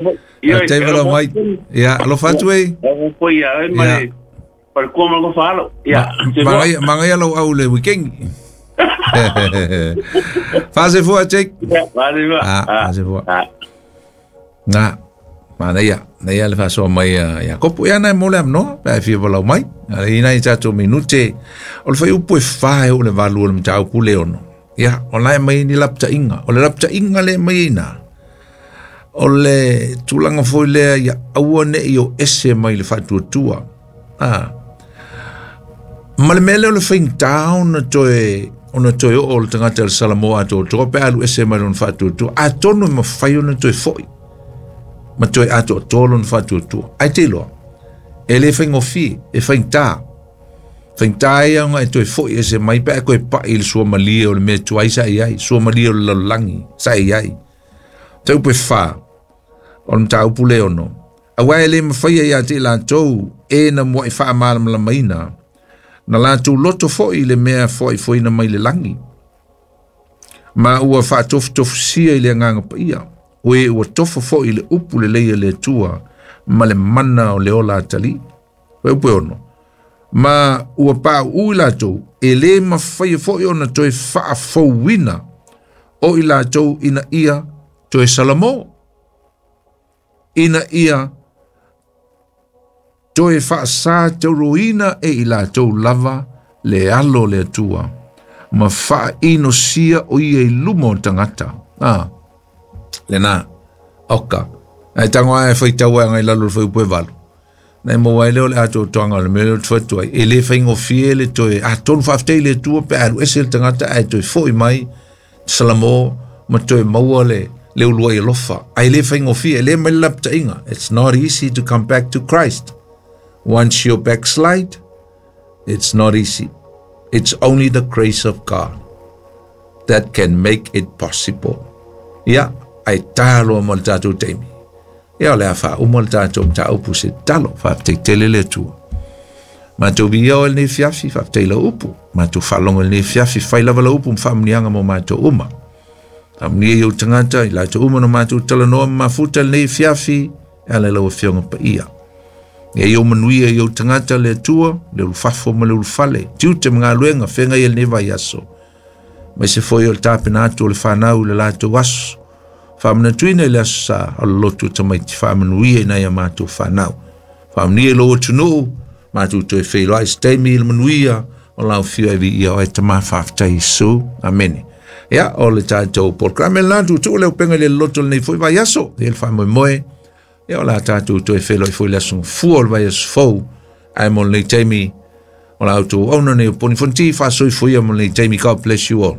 Faafetai valaau mai. Ia, alofa atu e. Ia. Magaia, magaia lau au le weekend. Faasefua, Jake. Ah, faasefua. Na, manaia, naia le faasoa mai a Iakopo. Ia nai mo le avanoa, pe a e fia valaau mai. I nai tatou minute, o le fuaiupu e 4 e oo i le 8 o le mataupu le 6. Ia, o la e aumai ai ni lapataiga. O le lapataiga lea e aumai ai i ina, o le tulaga foi lea ia aua ne i o ese mai le faatuatua. Ah. Ma le mea lea o le faigata ona toe ona toe oo o le tagata i le Salamo atoatoa pe alu ese mai lona faatuatua. Atonu e mafai ona toe foi ma toe atoatoa lona faatuatua. Ae te iloa, e le faigofie, e faigata. Faigata ia ona e toe foi ese mai pe a e toe pai i le suamalie o le mea tuai sa i ai, suamalie o le lalolagi sa i ai. Taupe 4, o le mataupu le 6. Aua e le mafaia ia te i latou e na mua'i faamalamalamaina, na latou loto foi i le mea foaifoaina mai le lagi, ma ua faatofutofusia i le Agaga Paia, o e ua tofa foi i le upu lelei a le Atua ma le mana o le ola atalii. Upu e 6. Ma ua pauu i latou, e le mafaia foi ona toe faafouina o i latou ina ia toe salamo, ina ia toe faasa tauroina e i latou lava le alo o le Atua, ma faainosia o ia i luma o tagata. Ah, lena, oka. Ae tago ae faitau ai ngai lalo o le fuaiupu e 8. Nai maua ai lea o le atoatoaga o le mea lea ou te fai atu ai. E le faigofie le toe, atonu faafetai i le Atua pe a alu ese le tagata ae toe foi mai Salamo ma toe maua le le uluai alofa. Ae le faigofie, e le mai le lapataiga. It's not easy to come back to Christ. Once you backslide, it's not easy. It's only the grace of God that can make it possible. Ia, ae taloa mo le tatou taimi. Ia, o le a faauma le tatou mataupu se tatalo. Faafetai tele le Atua. Matou viia oe lenei afiafi, faafetai lau upu. Matou faalogo i lenei afiafi, fai lava lau upu ma faamuniaga mo matou uma. Faamanuia i ou tagata, i latou uma na matou talanoa ma mafuta lenei afiafi, e ala i lau Afioga Paia. Ia i ou manuia i ou tagata le Atua, le ulufafo ma le ulufale, tiute ma galuega, feagai ai lenei vaiaso. Aemaise foi o le tapena atu o le fanau i le latou aso. Faamanatuina i le aso sa o le lotu o tamaiti, faamanuia i nai a matou fanau. Faamanuia i lou atunuu, matou toe feiloai se taimi i le manuia o lau afio e viia oe Tama, faafetai Iesu. Amene. Ia, o le tatou programe lena, tuutuu le upega i le loto lenei foi vaiaso, e le faamoemoe. Ia, o le a tatou toe feiloai foi le aso fua o le vaiaso fou, ae mo lenei taimi, o la outou auauna nei o Poni Fonti, faasoifua ia mo lenei taimi. God bless you all.